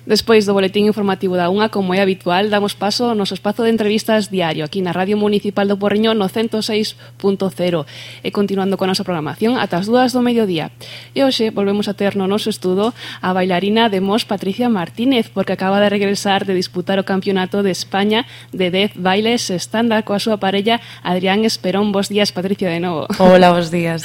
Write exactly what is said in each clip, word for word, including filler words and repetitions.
Despois do boletín informativo da unha, como é habitual, damos paso ao noso espazo de entrevistas diario aquí na Radio Municipal do Porriño no ciento seis punto cero e continuando con a nosa programación ata as dúas do mediodía. E hoxe volvemos a ter no noso estudo a bailarina de Mos Patricia Martínez, porque acaba de regresar de disputar o Campeonato de España de dez bailes estándar coa súa parella Adrián Esperón. Bos días, Patricia, de novo. Hola, bos días.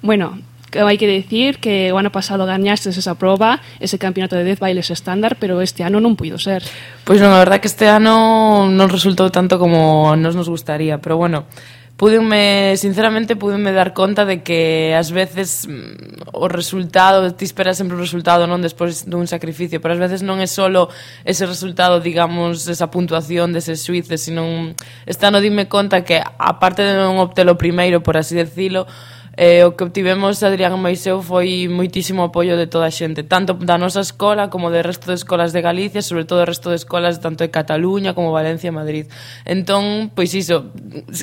Bueno, hai que decir que o ano pasado gañastes esa proba, ese campeonato de dez bailes estándar, pero este ano non puido ser. Pois non, a verdad que este ano non resultou tanto como nos nos gustaría, pero bueno, púdenme, sinceramente, púdenme dar conta de que ás veces o resultado, ti esperas sempre o resultado, non despois dun sacrificio, pero ás veces non é solo ese resultado, digamos, esa puntuación deses xuíces, sino este ano dime conta que, aparte de non obtelo primeiro, por así decilo, Eh, o que obtivemos Adrián e mais eu foi moitísimo apoio de toda a xente, tanto da nosa escola como do resto de escolas de Galicia, sobre todo o resto de escolas tanto de Cataluña como Valencia e Madrid. Entón, pois iso,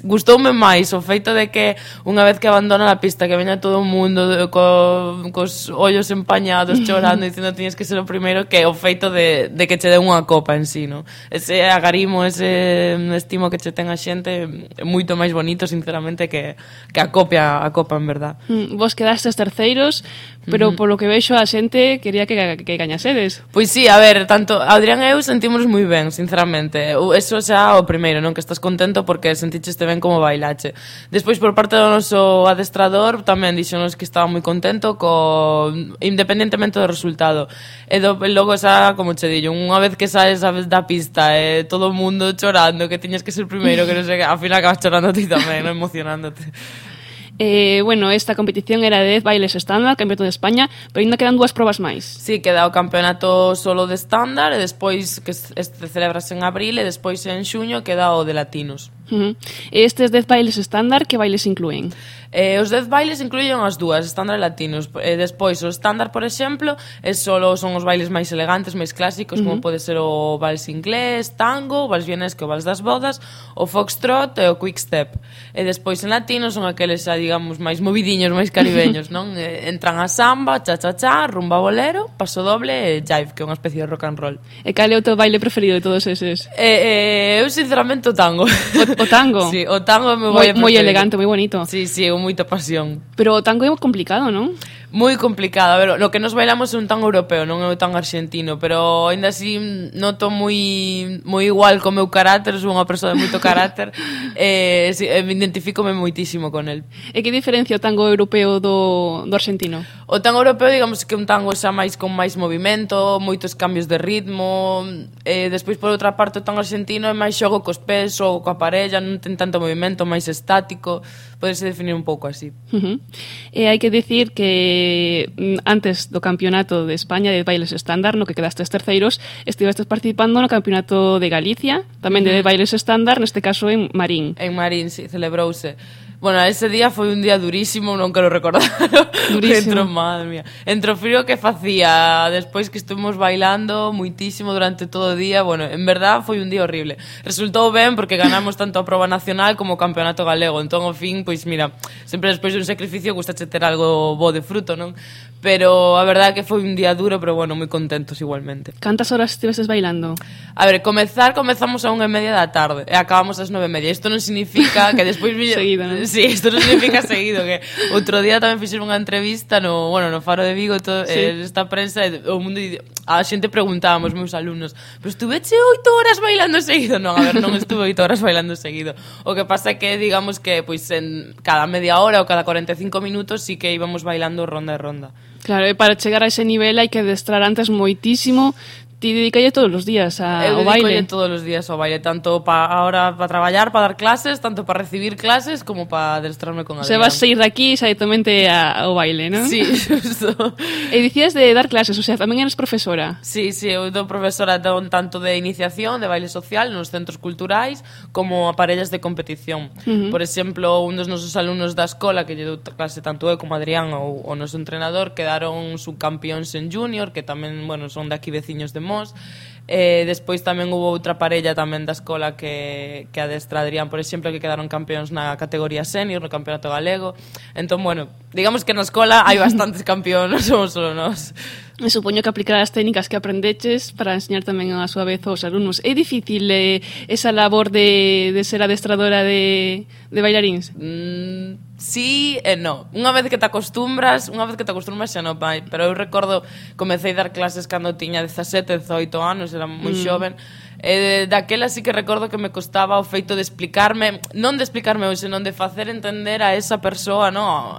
gustoume máis o feito de que unha vez que abandona a pista que veña todo o mundo co, cos ollos empañados chorando dicindo que tiñes que ser o primeiro, que o feito de, de que che den unha copa en sí, no? Ese agarimo, ese estimo que che ten a xente é moito máis bonito, sinceramente, que, que a copia a copa en verdad. Mm, vos quedastes terceiros, pero uh -huh. polo que vexo a xente quería que, que gañasedes. Pois sí, a ver, tanto Adrián e eu sentímonos moi ben, sinceramente. Eso xa o primeiro, non? Que estás contento porque senticheste ben como bailache. Despois, por parte do noso adestrador, tamén dixonos que estaba moi contento co independentemente do resultado. E do, logo xa, como che dillo, unha vez que saes da pista e eh, todo o mundo chorando que tiñas que ser primeiro, que non sei, ao final acabas chorando ti tamén, non, emocionándote. Eh, bueno, esta competición era de dez bailes estándar, Campeonato de España, pero ainda quedan dúas probas máis. Sí, queda o campeonato solo de estándar e despois, que este celebrase en abril, e despois en xuño queda o de latinos. Uh -huh. Estes dez bailes estándar, que bailes inclúen? Eh, os dez bailes incluyen as dúas, estándar e latinos. E despois o estándar, por exemplo, é solo son os bailes máis elegantes, máis clásicos, uh -huh. como pode ser o vals inglés, tango, o vals vienés, que o vals das bodas, o foxtrot e o quick step. E despois en latino son aqueles xa, digamos, máis movidiños, máis caribeños, non? Eh, entran a samba, cha-cha-cha, rumba bolero, paso doble e jive, que é unha especie de rock and roll. E cal é o teu baile preferido de todos eses? Eh, eh, eu, sinceramente, o tango. O, o tango? Sí, o tango é o meu baile preferido. Moi elegante, moi bonito. Sí, sí, con moita pasión. Pero o tango é complicado, non? Moi complicado. A ver, lo que nos bailamos é un tango europeo, non é un tango argentino, pero ainda así noto moi moi igual co meu carácter, sou unha persoa de moito carácter, e eh, me identifícome moitísimo con el. E que diferencia o tango europeo do, do argentino? O tango europeo, digamos que un tango xa máis con máis movimento, moitos cambios de ritmo, e despois por outra parte o tango argentino é máis xogo cos pés, xogo coa parella, non ten tanto movimento, máis estático, podese definir un pouco así. Uh -huh. E hai que dicir que antes do campeonato de España de bailes estándar, no que quedastes terceiros, estivestes participando no campeonato de Galicia, tamén de bailes estándar, neste caso en Marín. En Marín, sí, celebrouse. Bueno, ese día foi un día durísimo, non quero recordar. Durísimo. Entro, madre mía. Entre o frío que facía, despois que estuvimos bailando muitísimo durante todo o día, bueno, en verdad foi un día horrible. Resultou ben porque ganamos tanto a proba nacional como o campeonato galego, entón, ao fin, pois mira, sempre despois de un sacrificio gustache ter algo bo de fruto, non? Pero a verdade é que foi un día duro, pero bueno, moi contentos igualmente. Cantas horas estiveses bailando? A ver, comezar, comezamos a unha e media da tarde e acabamos ás nove e media. Isto non significa que despois... Seguido, non? Sí, isto non significa seguido, que outro día tamén fixeron unha entrevista no, bueno, no Faro de Vigo, todo, sí. eh, esta prensa, o mundo, a xente preguntábamos, meus alumnos, pero estuveche oito horas bailando seguido? Non, a ver, non estuve oito horas bailando seguido. O que pasa é que, digamos que, pois, en cada media hora ou cada cuarenta e cinco minutos sí que íbamos bailando ronda e ronda. Claro, e para chegar a ese nivel hai que adestrar antes moitísimo. Ti dedicalle todos os días a, ao baile? Eu dedicolle todos os días ao baile, tanto pa, ahora para traballar, para dar clases, tanto para recibir clases, como para adestrarme con Adrián. Se vas a ir daqui directamente ao baile, non? Sí, xusto. E dicías de dar clases, o sea, tamén eres profesora? Sí, sí, eu dou profesora tanto de iniciación, de baile social, nos centros culturais, como a parellas de competición. Uh -huh. Por exemplo, un dos nosos alumnos da escola, que lle dou clase tanto eu como Adrián, ou o noso entrenador, quedaron subcampións en junior, que tamén, bueno, son de aquí veciños de Mos. Eh, despois tamén hubo outra parella tamén da escola que, que adestra Adrián, por exemplo, que quedaron campeóns na categoría senior, no campeonato galego. Entón, bueno, digamos que na escola hai bastantes campeóns, non somos solo nós. Me supoño que aplicar as técnicas que aprendeches para enseñar tamén a súa vez aos alumnos. É difícil eh, esa labor de, de ser adestradora de, de bailaríns? Mm, sí e no. Unha vez que te acostumbras, unha vez que te acostumbras xa non vai. Pero eu recordo, comecei a dar clases cando tiña dezasete, dezoito anos, era moi mm. xoven. E daquela sí que recordo que me costaba o feito de explicarme, non de explicarme, senón de facer entender a esa persoa, no,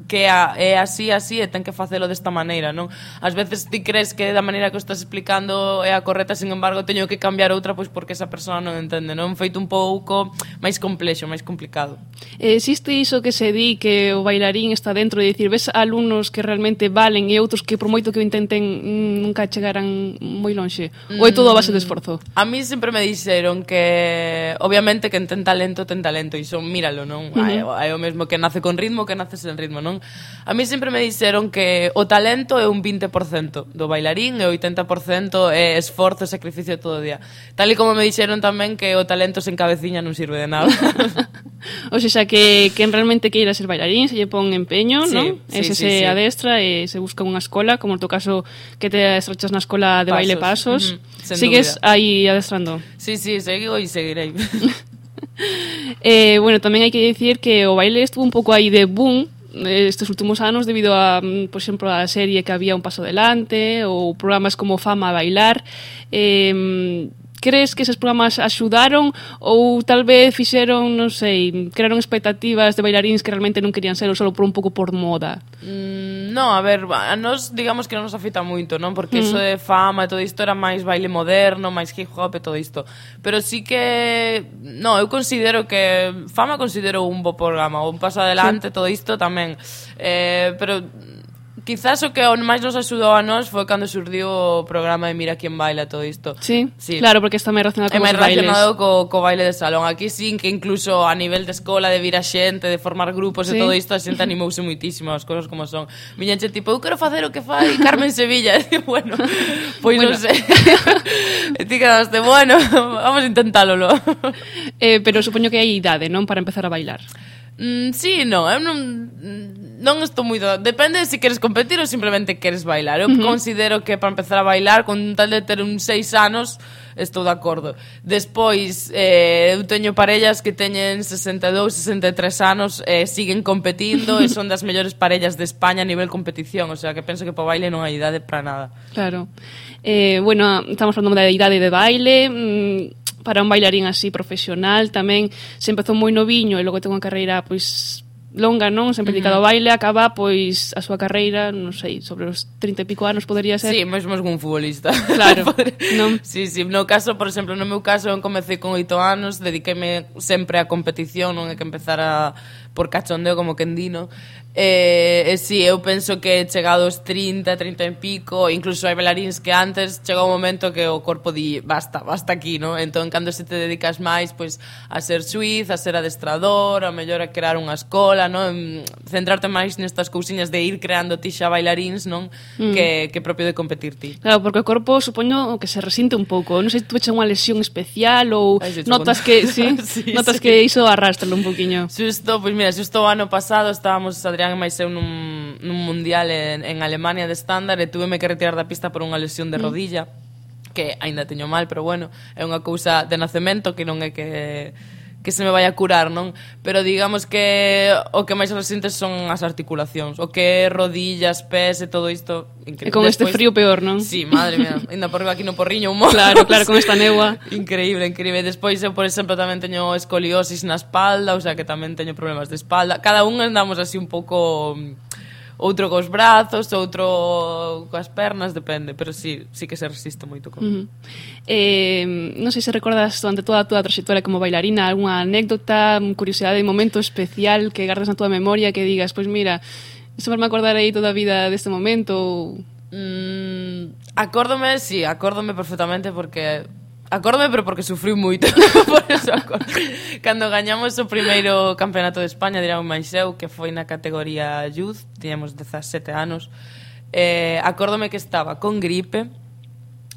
que é así, así, e ten que facelo desta maneira, non? Ás veces ti crees que da maneira que o estás explicando é a correcta, sin embargo, teño que cambiar outra pois porque esa persoa non entende, non? Feito un pouco máis complexo, máis complicado. Existe iso que se di que o bailarín está dentro de dicir, ves alumnos que realmente valen e outros que por moito que o intenten nunca chegaran moi lonxe? Ou é todo a base de esforzo? A mí sempre me dixeron que obviamente que ten talento, ten talento, e son, míralo, non? Uh-huh. É o mesmo que nace con ritmo que nace sen ritmo, non? A mí sempre me dixeron que o talento é un vinte por cento do bailarín e o oitenta por cento é esforzo e sacrificio todo o día. Tal e como me dixeron tamén que o talento sen cabeciña non sirve de nada. O sea, que quen realmente queira ser bailarín se lle pon empeño, sí, non? Sí, Ese sí, se sí. adestra e se busca unha escola, como no teu caso que te adestrachas na escola de Pasos. baile Pasos. Uh-huh. Sigues dúbida. aí adestrando? Sí, sí, sigo e seguirei. eh, bueno, tamén hai que dicir que o baile estuvo un pouco aí de boom estes últimos anos debido a, por exemplo, a serie que había Un Paso Adelante ou programas como Fama a Bailar. Eh, crees que eses programas axudaron ou tal vez fixeron, non sei, crearon expectativas de bailaríns que realmente non querían ser ou só por un pouco por moda? Mm, no, a ver, a nos digamos que non nos afecta moito, non? Porque mm. iso de Fama e todo isto era máis baile moderno, máis hip hop e todo isto. Pero sí que, no, eu considero que Fama considero un bo programa, Un Paso Adelante, sí. Todo isto tamén. Eh, pero quizás o que máis nos axudou a nós foi cando surdiu o programa de Mira Quién Baila, todo isto. Sí, sí. Claro, porque está máis relacionado con os bailes. É máis relacionado co, co baile de salón. Aquí sí, que incluso a nivel de escola, de vir a xente, de formar grupos sí. E todo isto, a xente animouse muitísimo, as cousas como son. Miña xente tipo, eu quero facer o que fai Carmen Sevilla. E bueno, pois bueno. Non sei. E ti quedaste, bueno, vamos a intentalo. eh, pero supoño que hai idade, non? Para empezar a bailar. Mm, sí, non, eu non non estou moi do... Depende se queres competir ou simplemente queres bailar. Eu uh-huh. considero que para empezar a bailar, con tal de ter uns seis anos, estou de acordo. Despois, eh, eu teño parellas que teñen sesenta e dous, sesenta e tres anos e eh, siguen competindo e son das mellores parellas de España a nivel competición, o sea que penso que para baile non hai idade para nada. Claro. Eh, bueno, estamos falando da idade de baile... Mmm... para un bailarín así profesional tamén se empezou moi noviño e logo ten unha carreira pois longa, non? Sempre dedicado ao baile, acaba pois a súa carreira, non sei, sobre os trinta e pico anos podería ser. Sí, mesmo es un futbolista. Claro. Non? Sí, sí, no caso, por exemplo, no meu caso, eu comecei con oito anos, dediqueime sempre á competición, non é que empezara por cachondeo como quen dino. E, e sí, eu penso que chegados trinta, trinta e pico, incluso hai bailaríns que antes chega un momento que o corpo di basta, basta aquí, no? Entón, cando se te dedicas máis pois a ser suiz, a ser adestrador, a mellor a crear unha escola, no? Centrarte máis nestas cousiñas de ir creando ti xa bailaríns, non? Mm. Que, que propio de competir ti. Claro, porque o corpo supoño que se resinte un pouco, non sei se tu echa unha lesión especial ou Ay, notas que, sí, sí, notas sí. que iso arrástralo un poquinho. Xusto, pois mira, xusto o ano pasado estábamos Adrián e máis eu nun, nun mundial en, en Alemania de estándar e túveme que retirar da pista por unha lesión de rodilla mm. que aínda teño mal, pero bueno, é unha cousa de nacemento que non é que que se me vai a curar, non? Pero digamos que o que máis resentes son as articulacións, o que é rodillas, pés e todo isto, increíble. E con Despois, este frío peor, non? Sí, madre mía, ainda por aquí no Porriño un mozo. Claro, claro, con esta neua. Increíble, increíble. Despois eu, por exemplo, tamén teño escoliosis na espalda, o sea que tamén teño problemas de espalda. Cada un andamos así un pouco... outro cos brazos, outro coas pernas, depende, pero sí, sí que se resiste moito con. Uh-huh. Eh, non sei se recordas durante toda a túa traxectoria como bailarina algunha anécdota, curiosidade, momento especial que gardas na túa memoria que digas, pois mira, sempre me acordarei toda a vida deste momento ou... Mm, acórdome, sí, acórdome perfectamente porque... Acórdome, pero porque sufrí moito. Por eso acordo. Cando gañamos o primeiro campeonato de España, dirán máis eu, que foi na categoría Youth, tiñamos dezasete anos, eh, acórdome que estaba con gripe,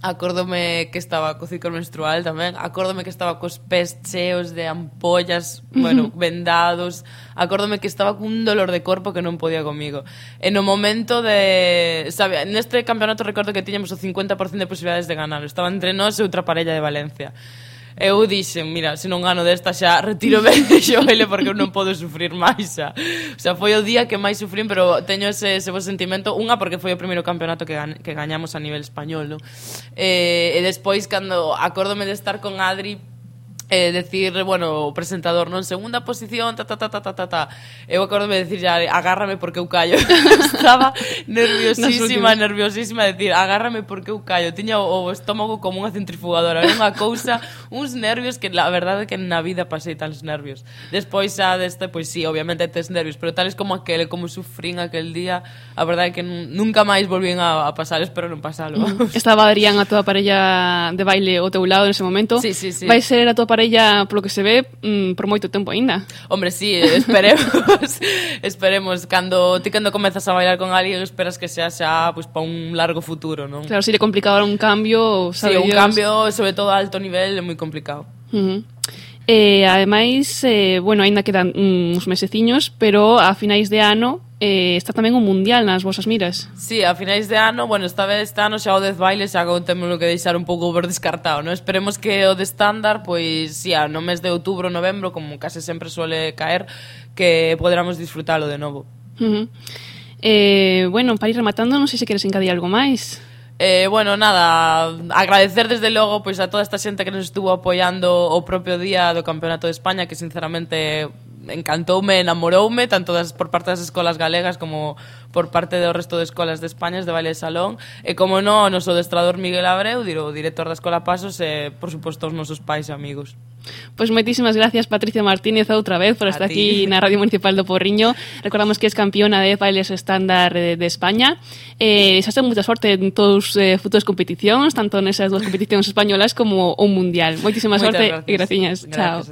Acórdome que estaba co ciclo menstrual tamén. Acórdome que estaba cos pés cheos de ampollas, bueno, vendados. Acórdome que estaba cun dolor de corpo que non podía comigo. E no momento de... Sabe, neste campeonato recordo que tiñamos o cincuenta por cento de posibilidades de ganar. Estaba entre nós e outra parella de Valencia. Eu dixen, mira, se non gano desta xa retírome de xoele porque eu non podo sufrir máis xa. O sea, foi o día que máis sufrín, pero teño ese, ese bo sentimento. Unha, porque foi o primeiro campeonato que, gan, que gañamos a nivel español, non? E, e despois, cando acórdome de estar con Adri, eh, decir, bueno, o presentador, non, segunda posición, ta, ta, ta, ta, ta, ta, ta. Eu acórdome de decir, ya, agárrame porque eu callo. Estaba nerviosísima, nerviosísima, de decir, agárrame porque eu callo. Tiña o, o estómago como unha centrifugadora, era unha cousa, uns nervios que la verdade é que na vida pasei tales nervios. Despois xa deste, pois sí, obviamente tes nervios, pero tales como aquele, como sufrín aquel día, a verdade é que nunca máis volvín a, a pasar, espero non pasalo. Estaba Adrián, a tua parella de baile ao teu lado nese momento. Sí, sí, sí. Vai ser a tua parella, polo que se ve, mm, por moito tempo aínda. Hombre, sí, esperemos. Esperemos. Cando ti cando comezas a bailar con alguén, esperas que sea xa pues, para un largo futuro, non? Claro, sería complicado un cambio, sabe Sí, un Dios. cambio, sobre todo a alto nivel, é moi complicado. Uh-huh. Eh, ademais, eh, bueno, aínda quedan uns meseciños, pero a finais de ano eh, está tamén un mundial nas vosas miras. Sí, a finais de ano, bueno, esta vez este ano xa o Death Baile xa temos que deixar un pouco por descartado, non? Esperemos que o de estándar, pois, sí, no mes de outubro, novembro, como case sempre suele caer, que poderamos disfrutalo de novo. Uh-huh. Eh, bueno, para ir rematando, non sei se queres encadir algo máis. Eh, bueno, nada, agradecer desde logo pois a toda esta xente que nos estuvo apoiando o propio día do Campeonato de España, que sinceramente encantoume, enamoroume, tanto das, por parte das escolas galegas como por parte do resto de escolas de España de baile de salón, e como non, o noso adestrador Miguel Abreu, o director da Escola Pasos, e por suposto os nosos pais e amigos. Pois moitísimas gracias, Patricia Martínez, outra vez por estar aquí na Radio Municipal do Porriño. Recordamos que es campeona de bailes estándar de, de España. Eh, xa ten moita sorte en todos os eh, futuras competicións, tanto nesas dúas competicións españolas como o mundial. Moitísimas sorte e graciñas. Chao.